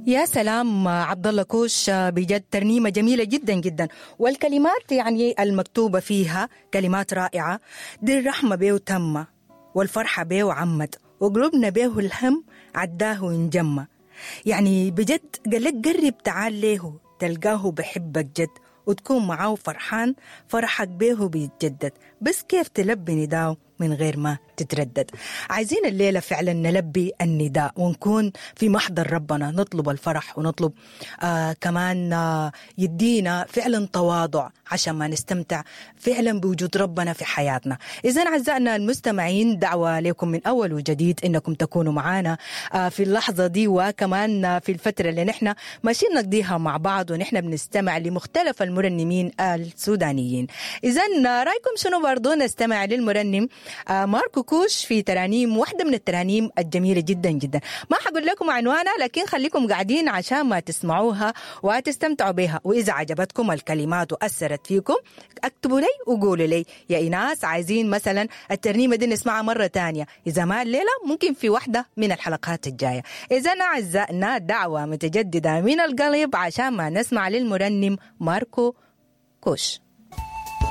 يا سلام عبد الله كوش، بجد ترنيمة جميلة جدا جدا، والكلمات يعني المكتوبة فيها كلمات رائعة. دي الرحمة بيه تمة، والفرحة بيه عمت، وقلوبنا بيه الهم عداه وانجمة. يعني بجد قال لك قرب تعال ليه تلقاه بحبك جد، وتكون معاه فرحان فرحك بيه بيتجدد، بس كيف تلبي نداه من غير ما تتردد. عايزين الليلة فعلا نلبي النداء ونكون في محضر ربنا، نطلب الفرح ونطلب كمان يدينا فعلا تواضع عشان ما نستمتع فعلا بوجود ربنا في حياتنا. إذا أعزائنا المستمعين، دعوة لكم من أول وجديد إنكم تكونوا معانا في اللحظة دي، وكمان في الفترة اللي نحن ماشيين نقضيها مع بعض ونحن بنستمع لمختلف المرنمين السودانيين. إذا رأيكم شنو برضو نستمع للمرنم ماركو كوش في ترانيم، واحدة من الترانيم الجميلة جدا جدا. ما حقول لكم عنوانها، لكن خليكم قاعدين عشان ما تسمعوها وتستمتعوا بها. وإذا عجبتكم الكلمات وأثرت فيكم اكتبوا لي وقولوا لي يا إيناس عايزين مثلا الترنيمة دي نسمعها مرة تانية، إذا ما الليلة ممكن في واحدة من الحلقات الجاية. إذا أعزائنا دعوة متجددة من القلب عشان ما نسمع للمرنم ماركو كوش.